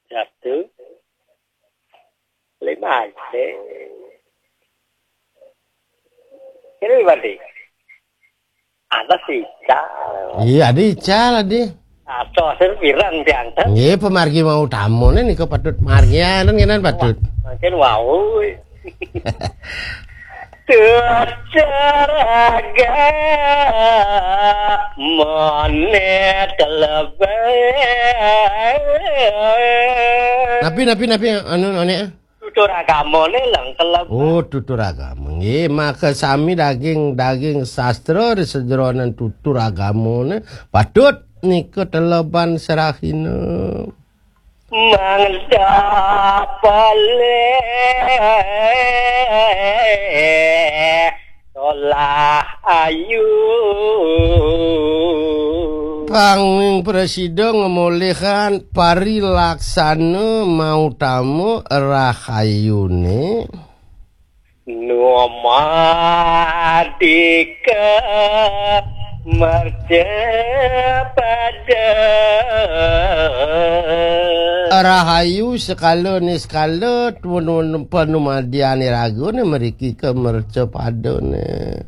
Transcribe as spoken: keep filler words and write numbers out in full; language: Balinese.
Satu. Lima aja. Ini berarti. Atas ical. Iya, ada ical, ada. Atau hasil pirang diantar. Nggih, pamargi mau tamune nika patut margianan kenan patut. Mungkin wau. Tutur agamane kelebet. Napi, napi, napi, anu, anu, eh? Tutur agamane lang kelebet. Oh, tutur agama. Nggih, maka sami daging, daging sastra di sejeroning tutur agamane patut nika teleban serahina. Mangda polih tolah ayu. Panging prasida ngemolihang parilaksana mautama rahayune. Numadika mercapada. Rahayu sekala niskala tuwun-, panumadian iragane mriki ka mercapadane.